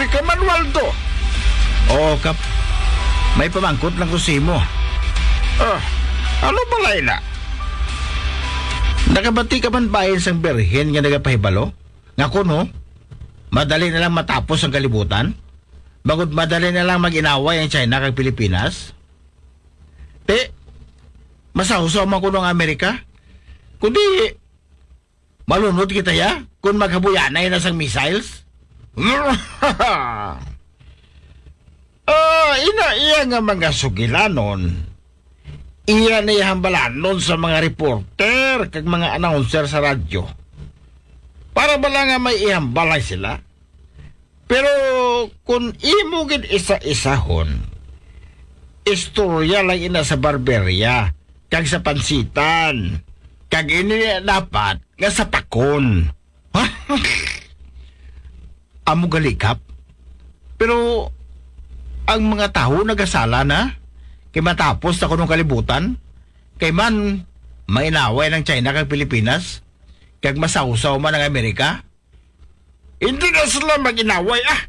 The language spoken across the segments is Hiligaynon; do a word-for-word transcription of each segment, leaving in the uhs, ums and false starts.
Ka Manuel to. Oo, Kap. May pamangkot lang ko sa imo. Ah, ano pala ina? Nakabati ka man bahin sang birhen nga nagapahibalo? Nga kuno, madali na lang matapos ang kalibutan? Bangod madali na lang mag-inaway ang China kag Pilipinas? Ti, masawsaw man kuno ang Amerika? Kundi, malunod kita ya kung maghabuyanay na sang missiles? Ah, ina iya nga mga sugilanon, iya na iya hambalanon sa mga reporter kag mga announcer sa radyo. Para bala nga may ihambalay sila. Pero kung imo gid isa-isahon, istorya lang ina sa barberya kag sa pansitan, kag ini dapat nga sa pakon. Amo gali, Kap. Pero ang mga tawo nagasala na kay matapos na kunong kalibutan, kay man mainaway ng China kag Pilipinas, kag masawsaw man ang Amerika. Hindi na sila mag-inaway, ah.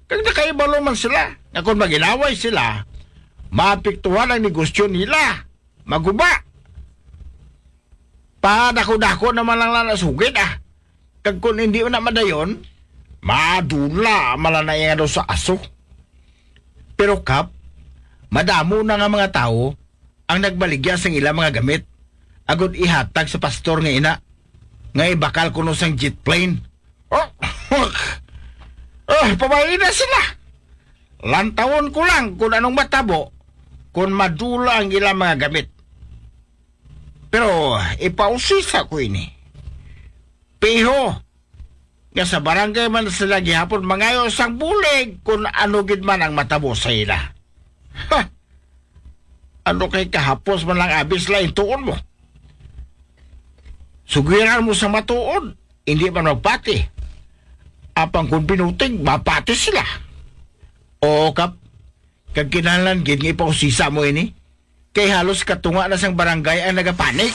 Kag nakahibalo man sila nga kung mag-inaway sila, maapektuhan ang negosyo nila. Maguba. Padako-dako naman lang na nasugid, ah. Kag kung hindi na madayon, madula man lang na iya daw sa aso. Pero, Kap, madamo na nga mga tawo ang nagbaligya sang ila mga gamit agod ihatag sa pastor nga ina nga ibakal kuno sang jet plane. Oh, oh, pabay na sila. Lantawon ko lang kung anong matabo kung madula ang ilang mga gamit. Pero ipausisa ko ini. Piho, nga sa barangay man sila gihapon mangayo sang bulig kung ano gid man ang matabo sa ila. Ha! Ano kay kahapos man lang abis lang tuon mo? Sugiran mo sa matuod, hindi man magpati. Apang kung binuting, mapati sila. Oo, Kap. Kag kinahanglan gid nga ipausisa mo ini. Kay halos katunga na sang barangay ang nagapanik.